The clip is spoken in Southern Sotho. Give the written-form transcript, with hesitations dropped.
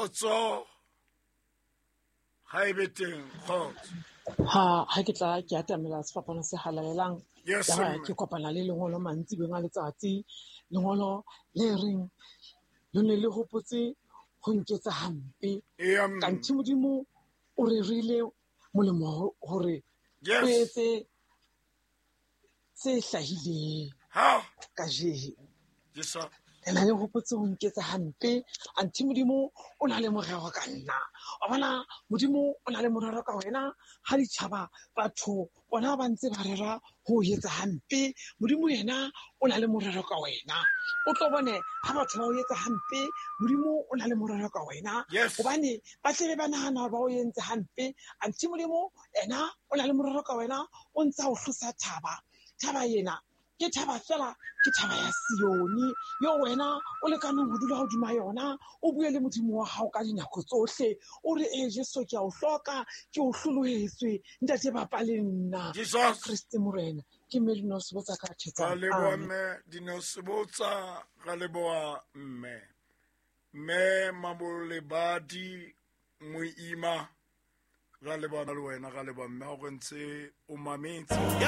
Kgotso ga e be teng, kgotso. Ha ha ke tla ke atamela sefapano se halalelang, Yes, ya ba mme. ke kopana le lengolo mantsibeng a letsatsi, lengolo le reng le ne le hopotse ho nketsa hampe. Eya, mme. Kanthe Modimo o rerile molemo hore Yes. o etse se hlahileng Ha. kajeno. Yes, sir. Le na le hopotse ho nketsa hampe, anthe Modimo o na le morero ka nna. Wa bona, Modimo o na le morero ka wena. Ha ditjhaba, batho bona ba ntse ba rera ho etsa hampe, Modimo yena o na le morero ka wena. O tlo bone ha batho ba o etsa hampe, Modimo o na le morero ka wena. Yes. Hobane ba tlebe ba nahana hore ba o entse hampe, anthe Modimo yena o na le morero ka wena, o ntsa o hlosa thaba. Thaba ena ke thaba fela, ke thaba ya Sione, yo wena o lekaneng ho dula hodima yona, o bue le Modimo wa hao ka dinako tsohle, o re, ee Jesu, ke a o hloka, ke o hlolohetswe, ntate bapa le nna. Jesus. Kriste Morena. Ke mme Dineo Sebotsa ka thetsang. Ra leboha Amen. mme Dineo Sebotsa, ra leboha mme. Mme Mabolebadi Moima, ra leboha le wena, ra leboha mme ha o re ntse o mametse.